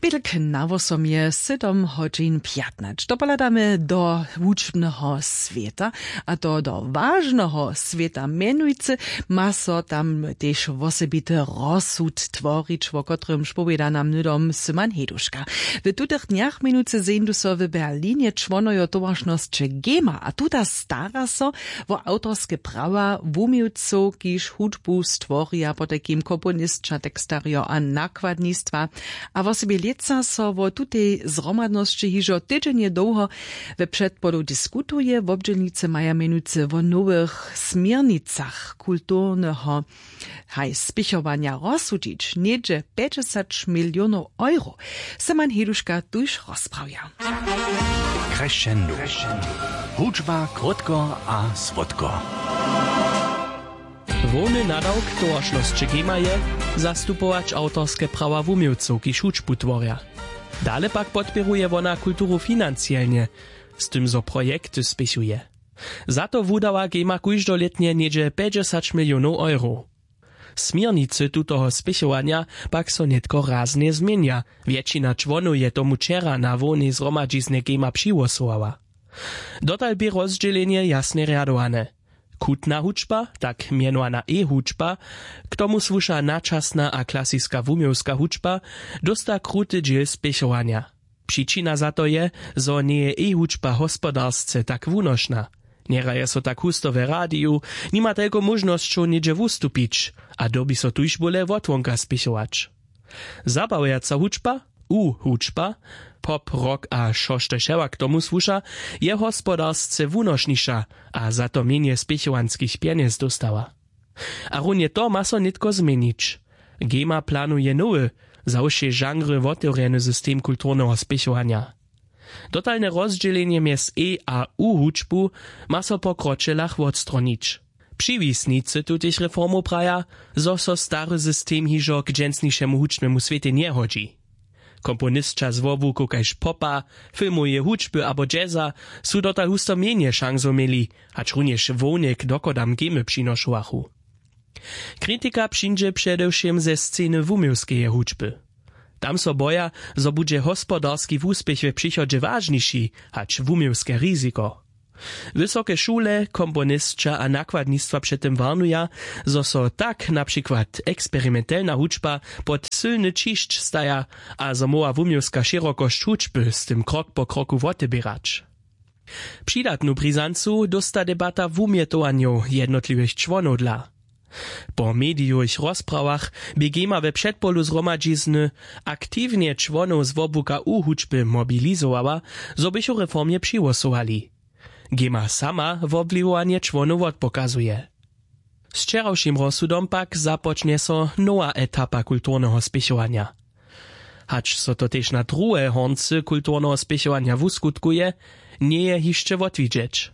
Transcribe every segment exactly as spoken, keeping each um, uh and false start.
Pětk na wosom je sydom hodźin pjatnaće. Dopohladamy do wučbneho swěta, a to do wažneho swěta. Mjenujcy ma so tam tež wosebity rozsud tworić, wo kotrymž powěda nam hnydom Syman Heduška. W tutych dnjach mjenujcy zeńdu so w Berlinje čłonojo towaršnosće Gema a tuta stara so wo awtorske prawa wuměłcow, kiž hudbu stworja, potajkim komponisća, tekstarjo a nakładnistwa. A wosebje lětsa so wo tutej zhromadnosći hižo tydźenje dołho we předpolu diskutuje. Wobdźělnicy maja mjenujcy wo nowych směrnicach kulturneho haj spěchowanja rozsudźić něhdźe pjećdźesać milionow euro. Seman Heduška tuž rozprawja. Crescendo. Hudźba krótko a słodko. Hłowny nadawk towaršnosće Gema je zastupować awtorske prawa wuměłcow, kiž hudźbu tworja. Dale pak podpěruje wona kulturu financielnje, z tym zo projekty spěchuje. Za to wudawa Gema kóždolětnje něhdźe pjećdźesać milionow euro. Směrnicy tutoho spěchowanja pak so nětko raznje změnja. Wjetšina čłonow je tomu wčera na hłownej zhromadźiznje Gema přihłosowała. Dotal bě rozdźělenje jasnje rjadowane. Chutna hudźba, tak mjenowana e-hudźba, k tomu słuša načasna a klasiska wuměłska hudźba, dósta kruty dźěl spěchowanja. Přičina za to je, zo njeje e-hudźba hospodarsce tak wunošna. Njehraje so tak husto w radiju, nima telko móžnosćow něhdźe wustupić, a dyrbi so tuž bóle wotwonka spěchować. Zabawjaca hudźba, u-hudźba, pop, rock a wšo što wšewak k tomu słuša, je hospodarsce wunošniša a za to mjenje spěchowanskich pjenjez dóstała. A runje to ma so nětko změnić. Gema planuje nowy, za wšě žanry wotewrjeny system kulturneho spěchowanja. Dotalne rozdźělenje mjez e a u hudźbu ma so po kročelach wotstronić. Přiwisnicy tutych reformow praja, zo so stary system hižo k dźensnišemu hudźbnemu swětej njehodźi. Komponisća z wobłukow kaž popa, filmoweje hudźby abo jazza su dotal husto mjenje šansow měli, hač runjež hłownik dochodam Gemy přinošowachu. Kritika přińdźe předewšěm ze sceny wuměłskeje hudźby. Tam so boja, zo budźe hospodarski wuspěch w přichodźe wažniši hač wuměłske riziko. Wysoke šule, komponisća a nakładnistwa před tym warnuja, zo so tak na přikład eksperimentelna hudźba pod sylny ćišć staja a zo móhła wuměłska šěrokosć hudźby z tym krok po kroku woteběrać. Přidatnu brizancu dósta debata wumjetowanjow jednotliwych čłonow dla. Po medijowych rozprawach bě Gema we předpolu zhromadźizny aktiwnje čłonow z wobłuka u hudźby mobilizowała, zo bychu reformje přihłosowali. Gema sama wobwliwowanje čłonow wotpokazuje. Z wčerawšim rozsudom pak započnje so nowa etapa kulturneho spěchowanja. Hač so to tež na druhe horncy kulturneho spěchowanja wuskutkuje, njeje hišće wotwidźeć.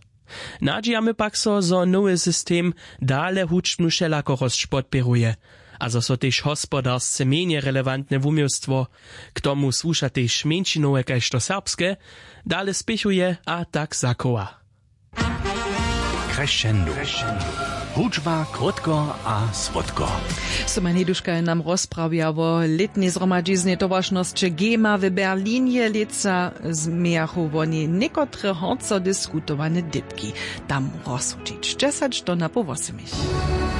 Nadźijamy pak so, zo nowy system dale hudźbnu wšelakorosć podpěruje a zo so tež hospodarsce mjenje relevantne wuměłstwo, k tomu słuša tež mjeńšinowe kaž to serbske, dale spěchuje a tak zachowa. Crescendo. Hudźba krótko a słodko. Soma Neduška je nam rozprawja wo lětnej zhromadźiznje towaršnosće Gema w Berlinje. Lětsa změjachu woni někotre hornco diskutowane dypki. Tam rozsudźić dźesać do napoł wosomich.